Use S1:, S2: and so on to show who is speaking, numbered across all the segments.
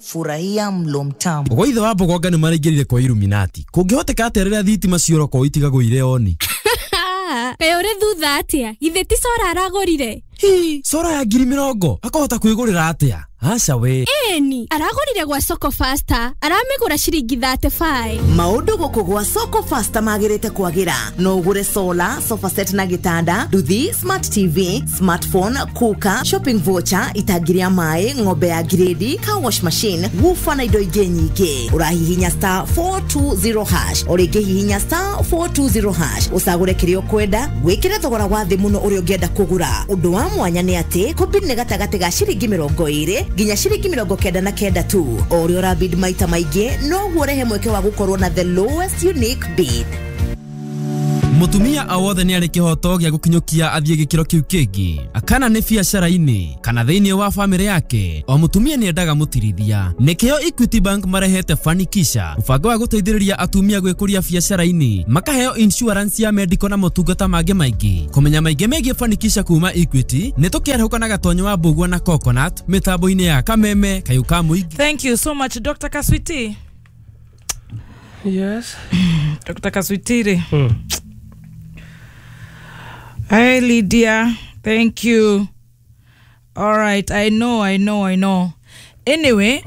S1: Furahia mlo mtamu.
S2: Gwa ithe wa Mbogonga nĩ maraingĩrire kwa Illuminati. Kũngĩhoteka atĩa rĩrĩa thitima ciora itigagwo irĩ oni?
S3: Kaĩ ũrĩ thutha atĩa? Githĩ ti cora aragũrire?
S2: Hi, cora ya 20,000 akahota kwĩgũrĩra atĩa? Aca we.
S3: Ĩni, aragũrire gwa Soko Faster, aramĩgũra ciringi 35.
S4: Maũndũ gũkũ gwa Soko Faster magĩrĩte kwagĩra. No ũgũre solar, sofa set na gĩtanda, nduthi, smart TV, smartphone, cooker, shopping voucher, itangi rĩa maĩ, ng'ombe ya grade, car wash machine, woofer na indo ingĩ nyingĩ. Ũrahihinya star 420 hash, o rĩngĩ hihinya star 420 hash, ũcagũre kĩrĩa ũkwenda, wĩkĩre thogora wa thĩ mũno ũrĩa ũngĩenda kũgũra. Ũndũ wa mwanya nĩ atĩ kũbid nĩ gatagatĩ ga ciringi 20 nginya ciringi 99 tu. O ũrĩa ũrabid maita maingĩ noguo ũrehe mweke wa gũkorwo na the lowest unique bid.
S2: Mutumia o wothe nĩ arĩ kĩhoto gĩa gũkinyũkia athiĩ gĩkĩro kĩu kĩngĩ, kana nĩ biacara-inĩ kana thĩinĩ wa bamĩrĩ yake. O mutumia nĩ endaga mũtirithia. Nĩkĩo Equity Bank marehete Fanikisha, mũbango wa gũteithĩrĩria atumia gwĩkũria biacara-inĩ, makaheo insurance ya medical na motungata mangĩ maingĩ. Kũmenya maingĩ megiĩ Fanikisha kuma Equity nĩ tũkĩarahũka na Gatonyo wa Mbũgua na Coconut mĩtambo-inĩ ya Kameme Kayũ ka Mũingĩ.
S5: Thank you so much, Dr. Kaswiti.
S6: Yes.
S5: Dr. Kaswiti. Hey, Lydia. Thank you. All right. I know. Anyway,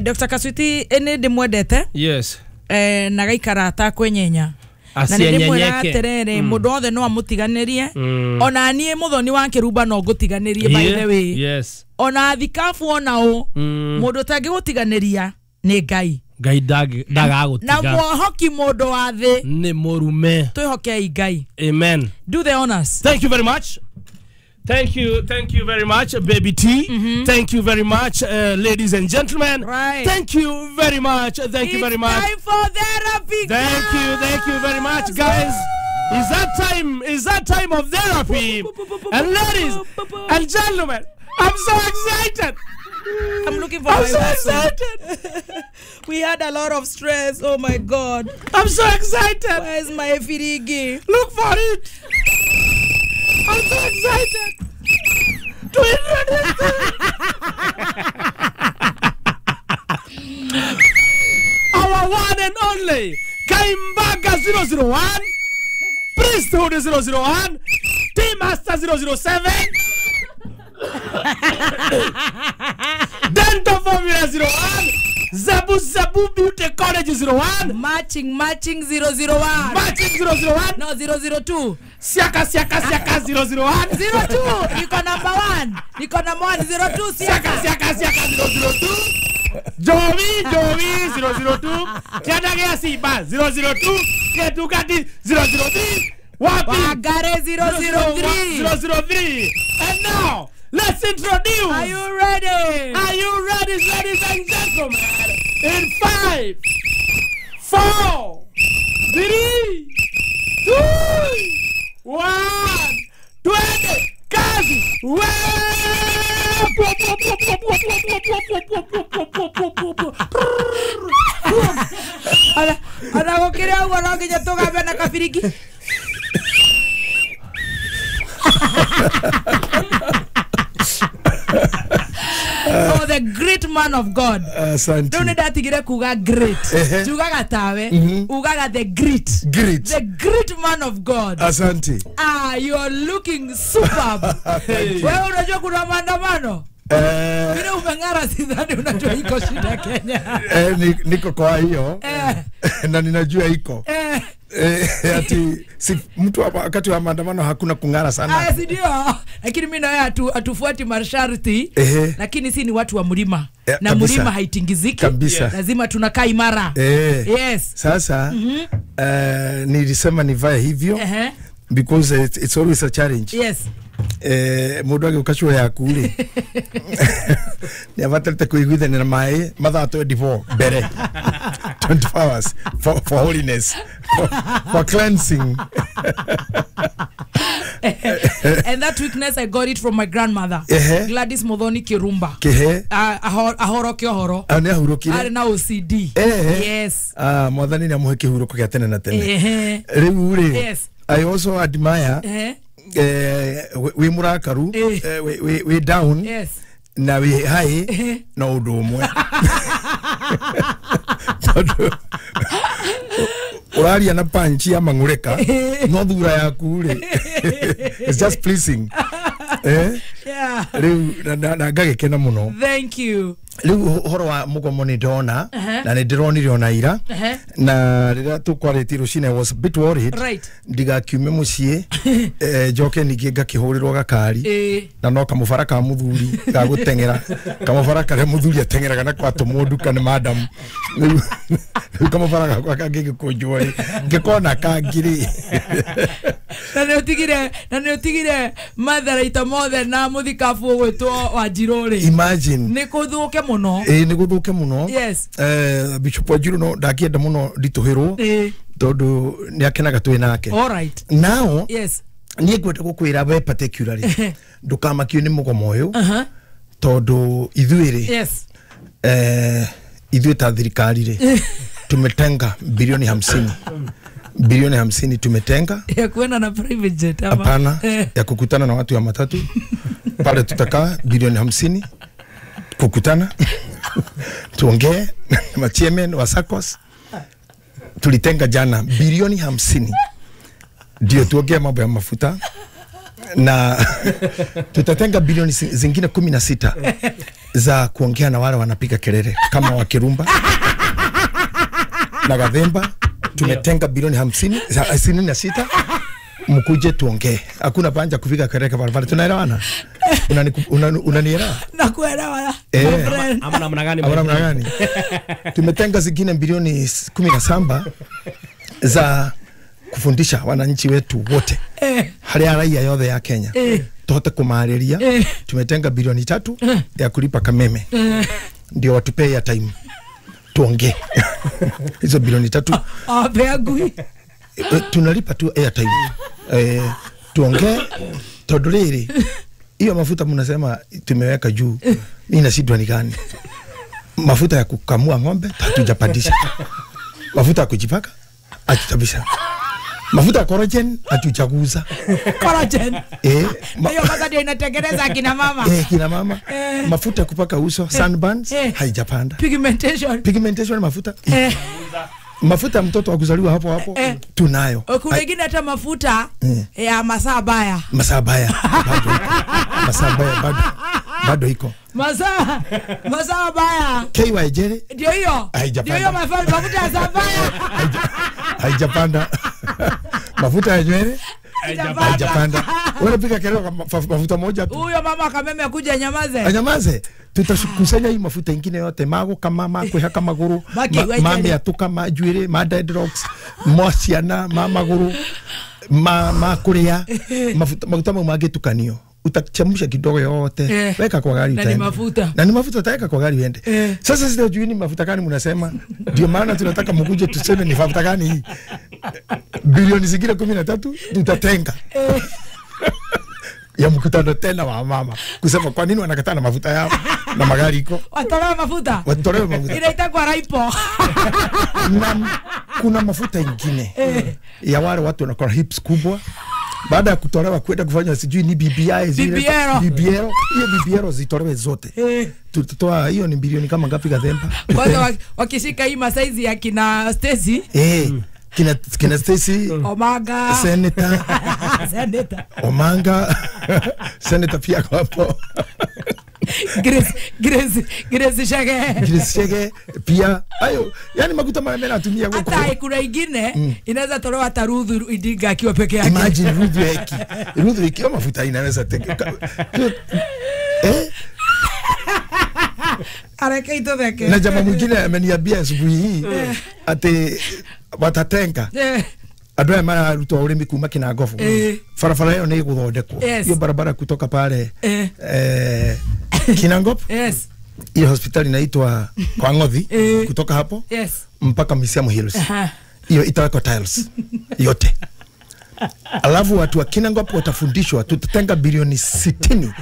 S5: Dr. Kaswiti, ene ndimwendete.
S6: Yes.
S5: Na gaikara atakwenyenya. Na ndimwĩra atĩrĩrĩ, mũndũ wothe no amũtiganĩrie. Ona niĩ mũthoni wa kĩrumba no ngũtiganĩrie, by the way.
S6: Yes.
S5: Ona thikabu ona ũ, mũndũ ũtangĩgũtiganĩria nĩ Ngai.
S6: Ngai ndagagũtiga.
S5: Na mwohoki mũndũ wa thĩ
S6: nĩ mũrume.
S5: Twĩhokei Ngai.
S6: Amen.
S5: Do the honors.
S6: Thank you very much. Thank you very much, Baby T. Thank you very much, ladies and gentlemen.
S5: Right.
S6: Thank you very much. Thank you very much.
S5: It's time for therapy.
S6: Thank you very much, guys. It's that time. It's that time of therapy. And ladies and gentlemen, I'm so excited.
S5: I'm looking for.
S6: I'm so excited.
S5: We had a lot of stress. Oh my God.
S6: I'm so excited.
S5: Where's my firigi?
S6: Look for it. I'm so excited to introduce our one and only Kaimbaga 001, Priesthood 001, Team Master 007, Dental Formula 01, Zabu Zabu Beauty College 01,
S5: Matching 001,
S6: Matching 001,
S5: no 002,
S6: Siaka Siaka Siaka 001,
S5: 02, niko number 1, niko number 1, 02,
S6: Siaka Siaka Siaka 002, Jovi Jovi 002, Kiandagia Simba 002, Ketukati 003, Wapi
S5: Wagare 003,
S6: 003. And now let's introduce.
S5: Are you ready?
S6: Are you ready, ladies and gentlemen? In 5, 4, 3, 2, 1, 20, kazi!
S5: Ona gũkĩrĩ ũguo no nginya tũgambe na kabiriki. Oh, the great man of God.
S7: Asante.
S5: Don't ndatigire kuga great. Tugaga tawe, ugaga the great.
S7: Great.
S5: The great man of God.
S7: Asante.
S5: Ah, you are looking superb. Wewe unajua kuna maandamano? Vile umeng'ara sidhani unajua iko shida Kenya.
S7: Niko kwa hiyo. Na ninajua iko. Ati si mtu wakati wa maandamano hakuna kung'ara sana.
S5: Si ndio? Lakini mimi na wewe hatufuati masharti. Lakini si ni watu wa mlima. Na mlima haitingiziki.
S7: Kabisa.
S5: Lazima tunakaa imara. Yes.
S7: Sasa nilisema nivae hivyo because it's always a challenge.
S5: Yes.
S7: Mundu agĩũka yaku rĩ nĩ abatarĩte kũiguithania na maĩ mathaa 24 mbere 24 hours for holiness, for cleansing.
S5: And that weakness I got it from my grandmother, Gladys Muthoni Kirumba. Ahoro kĩohoro.
S7: Nĩ ahurũkire.
S5: Arĩ na OCD. Yes.
S7: Mwathani nĩ amũhe kĩhurũko gĩa tene na tene. Rĩu rĩ,
S5: yes.
S7: I also admire we murakaru, we down.
S5: Yes.
S7: Na wĩ high no ũndũ ũmwe. Tondũ ũraria na punch ya mang'ũrĩka no thura yaku rĩ it's just pleasing.
S5: Yeah.
S7: Rĩu na ngagĩkena mũno.
S5: Thank you.
S7: Rĩu ũhoro wa mũgomo nĩ ndona na nĩ ndĩronire ona ira na rĩrĩa tũkwarĩtie rũcinĩ I was a bit worried ndigakiume mũciĩ njoke ningĩ ngakĩhũrĩrwo gakari na no kamũbara ka mũthuri ga gũteng'era kamũbara karĩa mũthuri ateng'eraga na kwatũmwo nduka nĩ madam rĩu kamũbara gakwa kangĩgĩkũnjwo rĩ ngĩkona kangĩ rĩ
S5: na nĩ ũtigire matharaita mothe na mũthikabu ũgwĩtwo Wanjirũ rĩ.
S7: Imagine
S5: nĩ kũthũke muno.
S7: Nĩ gũthũke mũno.
S5: Yes.
S7: Bishop Wanjirũ no ndakĩenda mũno nditũhĩrwo tondũ nĩ akenaga twĩ nake.
S5: All right.
S7: Now
S5: yes.
S7: Niĩ ngwenda gũkwĩra we particularly ndũkamakio nĩ mũgomo ũyũ tondũ ithuĩ rĩ
S5: yes.
S7: Ithuĩ ta thirikari rĩ tumetenga bilioni 50 bilioni 50 tumetenga
S5: ya kuenda na private jet ama
S7: hapana ya kukutana na watu ya matatu pale tutakaa bilioni 50 kukutana tuongee na chairman wa SACCOS. Tulitenga jana bilioni 50 ndio tuongee mambo ya mafuta na tutatenga bilioni zingine 16 za kuongea na wale wanapiga kelele kama wa Kirumba na Gathemba. Tumetenga bilioni 56 mkuje tuongee. Hakuna panja kupiga kelele barabara. Tunaelewana? Unanielewa?
S5: Nakuelewa.
S6: Ama namna gani?
S7: Ama namna gani? Tumetenga zingine bilioni 17 za kufundisha wananchi wetu wote. Hali ya raia yote ya Kenya. Tuhote kumareria. Tumetenga bilioni 3 ya kulipa kameme. Ndio watupee ya time. Tuongee. Hizo bilioni 3.
S5: Pea
S7: tunalipa tu airtime. Tuongee tondũ rĩrĩ hiyo mafuta mnasema tumeweka juu, mimi nashindwa ni gani? Mafuta ya kukamua ng'ombe hatujapandisha. Mafuta ya kujipaka hatutabisha. Mafuta ya collagen hatujaguza.
S5: Collagen. Hiyo kwanza ndio inatengeneza kina mama.
S7: Kina mama. Mafuta ya kupaka uso sunburns haijapanda.
S5: Pigmentation.
S7: Pigmentation mafuta. Mafuta mtoto akuzaliwa hapo hapo tunayo.
S5: Kuna wengine hata mafuta ya masaa baya.
S7: Masaa baya. Masaa baya bado iko.
S5: Masaa baya.
S7: KY Jerry.
S5: Ndio hiyo. Ndio hiyo mafuta ya masaa baya.
S7: Haijapanda. Mafuta ya nywele haijapanda. Wewe pika kelele mafuta moja tu.
S5: Huyo mama kameme akuja anyamaze.
S7: Anyamaze. Tutakusanya hii mafuta ingine yote mago kama makwehaka maguru mami atuka majuire ma dreadlocks mociana ma maguru ma kuria mafuta maguta mau mangĩtukanio utachemsha kidogo yote weka kwa gari utaenda. Na ni mafuta utaweka kwa gari uende. Sasa sijui ni mafuta gani mnasema. Ndio maana tunataka mkuje tuseme ni mafuta gani hii. Bilioni zingine 13 tutatenga. Ya mkutano tena wa mama kusema kwa nini wanakataa na mafuta yao na magari iko.
S5: Watolewe mafuta.
S7: Watolewe mafuta.
S5: Inaitwa raipo.
S7: Na kuna mafuta ingine ya wale watu wanakuwa hips kubwa. Baada ya kutolewa kwenda kufanya sijui ni BBI zile BBL, hiyo BBL zitolewe zote. Tutatoa hiyo ni bilioni kama ngapi Gathemba?
S5: Kwanza wakishika hii masaizi ya kina Stacy.
S7: Kina Stacy,
S5: Omanga,
S7: Senator,
S5: Senator
S7: Omanga, Senator pia hapo.
S5: Grace Shege.
S7: Grace Shege pia. Ayo, yani makuta mara mimi natumia huko.
S5: Hata kuna ingine inaweza tolewa hata Ruth Idinga akiwa peke yake.
S7: Imagine Ruth Weki. Ruth Weki mafuta inaweza teke.
S5: Areke itotheke.
S7: Na jamaa mwingine ameniambia asubuhi hii ati watatenga. Andũ aya mararutwo ũrĩmi kuma Kinangobu. Barabara ĩyo nĩ ĩgũthondekwo. Hiyo barabara kutoka pale Kinangop.
S5: Yes.
S7: Hiyo hospitali inaitwa kwa Ngothi kutoka hapo mpaka Misiamu Hills. Hiyo itawekwa tiles yote. Alafu watu wa Kinangop watafundishwa, tutatenga bilioni 60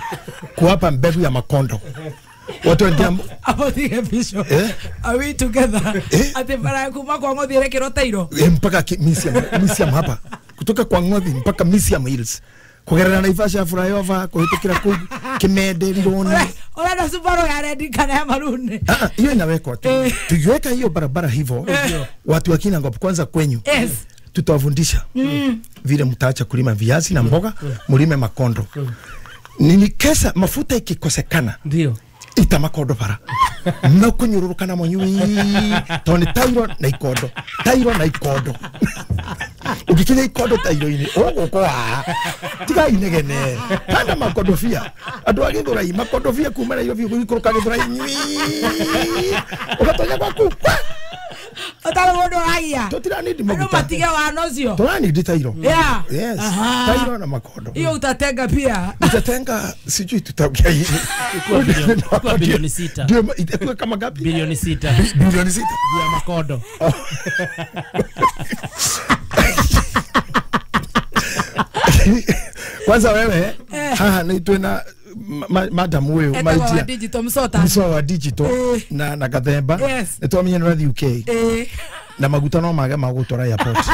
S7: kuwapa mbegu ya makondo. Watu wa
S5: hapo the bishop. Are we together? Ati bara kuma kwa Ngothi ile kiro tairo.
S7: Mpaka Misiamu hapa. Kutoka kwa Ngothi mpaka Misiamu Hills. Kugerera Naivasha flyover kuhitukira kuu Kimende Rironi.
S5: Ora Subaru ya red kana ya maroon.
S7: Ah, hiyo inawekwa tu. Tukiweka hiyo barabara hivyo watu wa Kinangop kwanza kwenyu.
S5: Yes.
S7: Tutawafundisha vile mtaacha kulima viazi na mboga, mulime makondo. Nini kesa mafuta ikikosekana.
S6: Ndio. Ita
S7: makondo bara. No kunyururuka na monyui. Toni tairo na ikondo. Tairo na ikondo. Ukikinya ikondo tairo-ini ũgũkwa. Tiga inegene. Panda makodofia. Andũ a Gĩthũrai makodofia kuma Nairobi gũikũrũka Gĩthũrai nyui. Ũgatonya gwaku.
S5: Otara mũndũ ũragia.
S7: Tũtiranindi maguta.
S5: Andũ matige wana ũcio.
S7: Tũranindi tairo.
S5: Yeah.
S7: Yes. Tairo na makondo.
S5: Hiyo utatenga pia.
S7: Utatenga sijui tutaongea hii.
S6: Kwa bilioni 6.
S7: Ndio itakuwa kama ngapi?
S6: Bilioni 6.
S7: Bilioni 6
S6: ya makondo.
S7: Kwanza wewe haha ni twina madam huyu
S5: maidia digital msota
S7: msota wa digital na Gathemba
S5: yes.
S7: Nitwamenye nĩ UK na maguta no mage magũtwara airport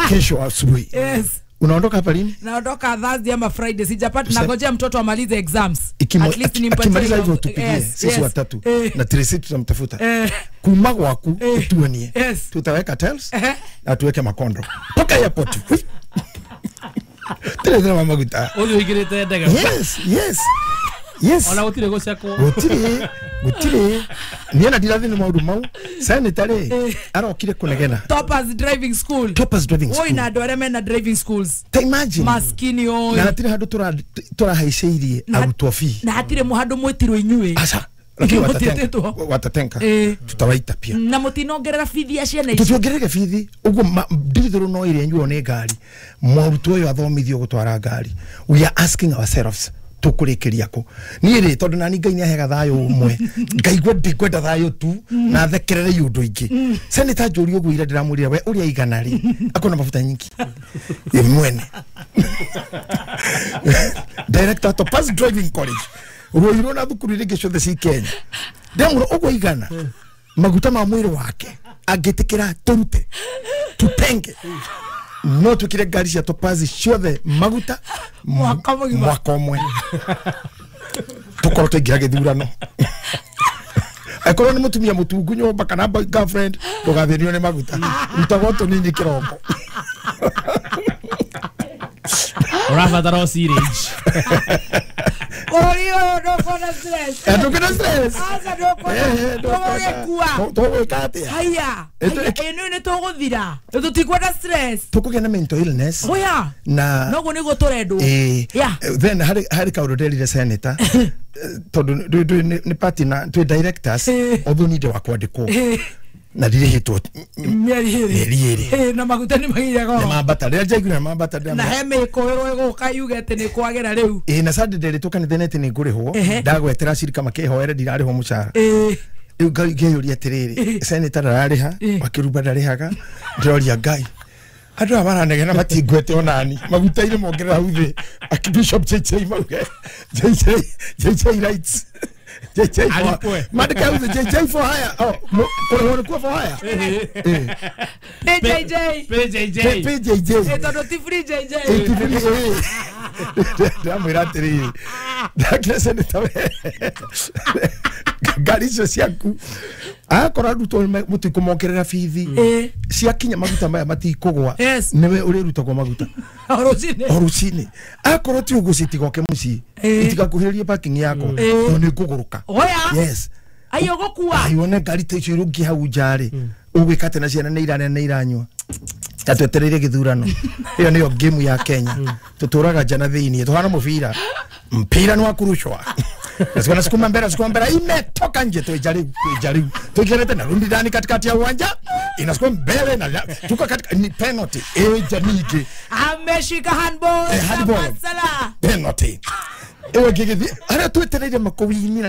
S7: kesho asubuhi.
S5: Yes.
S7: Unaondoka hapa lini?
S5: Naondoka Thursday ama Friday. Sijapata, nangojea mtoto amalize exams. At least nimpatie.
S7: Akimaliza hivyo tupigie sisi watatu na Tracy tutamtafuta. Kuma gwaku tuonie. Tutaweka tails na tuweke makondo. Paka airport. Tele tele maguta.
S6: Uyu igirite ndege.
S7: Yes, yes. Yes.
S6: Ona gutire gucekwo.
S7: Gutire, gutire. Niĩ na ndirathi nĩ maũndũ mau. Senator rĩ arokire kunegena.
S5: Toppers Driving School.
S7: Toppers Driving School.
S5: Oi na andũ arĩa mena driving schools.
S7: Ta imagine.
S5: Maskini oi.
S7: Na hatirĩ handũ tũrahaicĩirie arutwo fee.
S5: Na hatirĩ handũ mwĩtirwo inyuĩ.
S7: Aca. Lakini watatenga. Tutawaita pia.
S5: Na mutinongerera bithi ya ciana ici.
S7: Tutiongerere bithi. Uguo ndithuru no ire nyuo ni ngari. Mũrutwo ũyũ athomithio gũtwara ngari. We are asking ourselves tukurikiria ku ni ri tondu nani Ngai niahega thayo umwe ngaigua ndikwenda thayo tu na thekerere iundu ingi senator njuri uguo ira ndiramwirire we uria igana ri akona mafuta nyingi ye mwene director Topaz Driving College Ruiru na thukuru iria ingĩ ciothe ci Kenya ndamwira uguo igana maguta ma mwiri wake angitikira turute tutenge no tukire ngari cia Topaz ciothe maguta mwaka ũmwe tukorwo twaingĩra gĩthurano akorwo nĩ mũtumia mũtungu nyũmba kana girlfriend ndũgathĩnio nĩ maguta rutagwo tũnini kĩroko
S6: ũrabatara o syringe
S5: Bũrũri ũyũ ndũkuona stress.
S7: Ndũkuona stress.
S5: Aca ndũkuona. Tũgũgĩkua.
S7: Tũgwĩka atĩa?
S5: Haiya. Ĩno nĩ tũgũthira. Tũtikuona stress.
S7: Tũkũgĩa na mental illness.
S5: Oya.
S7: Na
S5: noguo nĩguo tũrendwo.
S7: Yeah. Then harĩ kaũndũ nderire senator tondũ nĩ party na twĩ directors although nĩ wa kwandĩkwo na ndirĩhĩtwo
S5: mĩeri ĩrĩ na maguta nĩ magire goro
S7: nĩ mambata rĩrĩa njaiguire mambata
S5: na he mĩkũĩrwo ĩgũka yuge atĩ nĩ kwagĩra rĩu
S7: ĩĩ na Sunday nderĩtwo kanitha-inĩ atĩ nĩ ngũrĩhwo ndagwetera cirika makĩhoere ndirarĩhwo mũcara rĩu ngeyũria atĩrĩrĩ senator ndararĩha Wakĩrumba ndarĩhaga ndĩroria Ngai andũ aya maranegena matingwete onani maguta-inĩ mongerera hau thĩ Archbishop JJ mauge JJ writes JJ for mandika hau thĩ JJ for hire oh kũrĩhwo nĩkuo for hire
S5: PJJ
S6: PJJ
S7: PJJ
S5: tondũ ti free JJ
S7: ndamwĩra atĩrĩrĩ ndakĩra senator we ngari icio ciaku akorwo arutwo mũtikũmongerera bithi ciakinya maguta maya matikũgwa nĩwe ũrĩrutagwo maguta o rũcinĩ akorwo ti ũguo citigoke mũciĩ itigakuhĩrĩrie parking yakwa tondũ nĩ ngũgũrũka yes
S5: ayo ũgũkua
S7: ayo one ngari ta icio irũngiĩ hau nja rĩ ũgwĩka atĩ na ciana nĩ irarĩa nĩ iranyua na twetereire gĩthurano ĩyo nĩyo game ya Kenya tũtũraga nja na thĩiniĩ tũhana mũbira mpira ni wa kurushwa nasukuma sukuma mbele sukuma mbele imetoka nje tuijaribu tuikerete na rundi ndani katikati ya uwanja inasukuma mbele na tuko katika ni penalty jamii
S5: ameshika handball
S7: handball penalty ewe gigithi ara twetereire makowini na